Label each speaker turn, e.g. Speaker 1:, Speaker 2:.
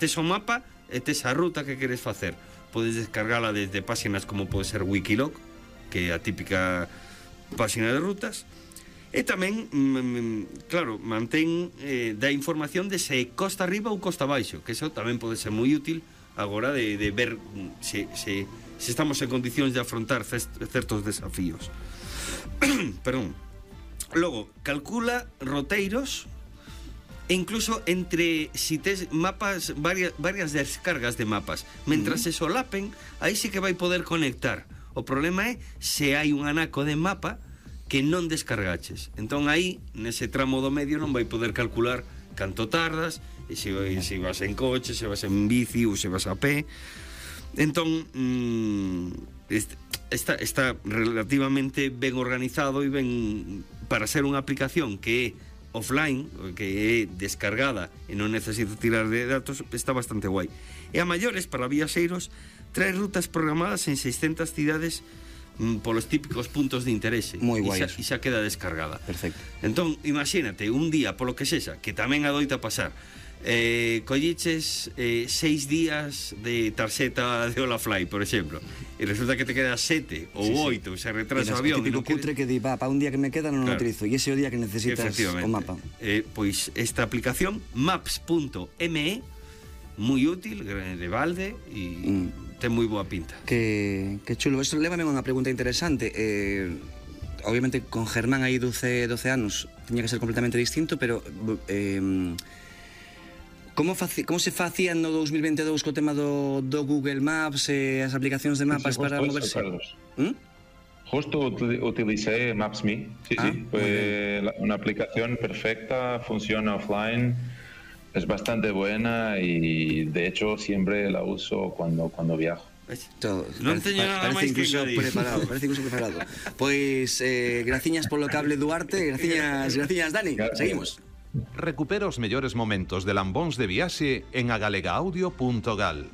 Speaker 1: tes o mapa e tes a ruta que queres facer. Podes descargala desde páxinas como pode ser Wikiloc, que é a típica páxina de rutas, e tamén, claro, mantén da información de se costa arriba ou costa abaixo, que eso tamén pode ser moi útil agora de ver se estamos en condicións de afrontar certos desafíos. Perdón. Logo, calcula roteiros e incluso entre si tes mapas, varias descargas de mapas, mentras se solapen, aí sí que vai poder conectar. O problema é se hai un anaco de mapa que non descargaches. Entón aí, nese tramo do medio, non vai poder calcular canto tardas, e se vas en coche, se vas en bici ou se vas a pé. Entón, está relativamente ben organizado e ben para ser unha aplicación que é offline, que é descargada e non necesita tirar de datos, está bastante guai. E a maiores, para viaxeiros, trae rutas programadas en 600 cidades polos típicos puntos de interese.
Speaker 2: Moi guai.
Speaker 1: E xa queda descargada.
Speaker 2: Perfecto.
Speaker 1: Entón, imagínate, un día, polo que sexa, que tamén adoita pasar, colliches 6 días de tarxeta de Holafly, por exemplo, e resulta que te queda 7 ou 8, se retrasa o avión.
Speaker 2: É típico cutre que di, para un día que me queda non o utilizo, e ese é o día que necesitas o mapa.
Speaker 1: Pois esta aplicación, maps.me, moi útil, de balde, e ten moi boa pinta.
Speaker 2: Que chulo. Isto lévame a unha pregunta interesante. Obviamente, con Germán aí 12 anos, tiña que ser completamente distinto, pero... Como se facía no 2022 co tema do Google Maps e as aplicacións de mapas para moverse?
Speaker 3: Justo utilicé Maps.me, sí. Fue una aplicación perfecta, funciona offline, es bastante buena y de hecho siempre la uso cuando viajo.
Speaker 1: Non teño nada máis que engadir.
Speaker 2: Parece incluso preparado. Pois, graciñas polo cable, Duarte, graciñas, Dani. Seguimos.
Speaker 4: Recupera os mellores momentos de Lambóns de Viaxe en agalegaudio.gal.